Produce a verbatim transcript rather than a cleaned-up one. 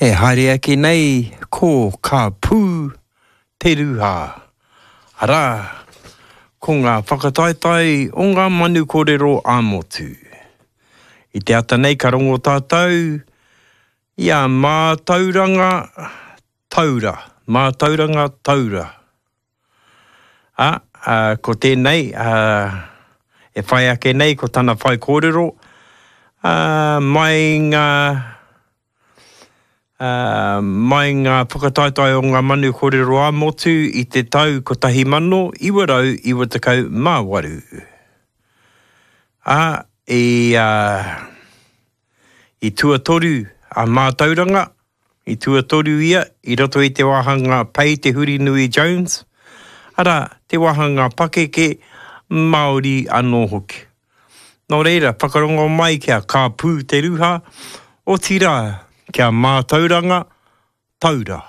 E haere ake nei ko Ka Pū Te Ruha. Arā, ko ngā whakataetae o ngā manu kōrero ā-motu. I te ata nei ka rongo tātou i a Mātauranga Taura, Mātauranga Taura. Ā, ā, ko tēnei, ā, e whai ake nei ko tana whaikōrero, ā, mai ngā, ā, mai ngā whakataetae o ngā manu kōrero ā-motu i te tau kotahi mano iwa rau iwa tekau mā waru. Ā, i, ā, i tuatoru a Mātauranga, i tuatoru ia i roto i te wāhanga Pei Te Hurinui Jones, arā, te wāhanga pakeke Māori anō hoki. Nō reira, whakarongo mai kia Ka Pū Te Ruha, otirā, kia Mātauranga Taura.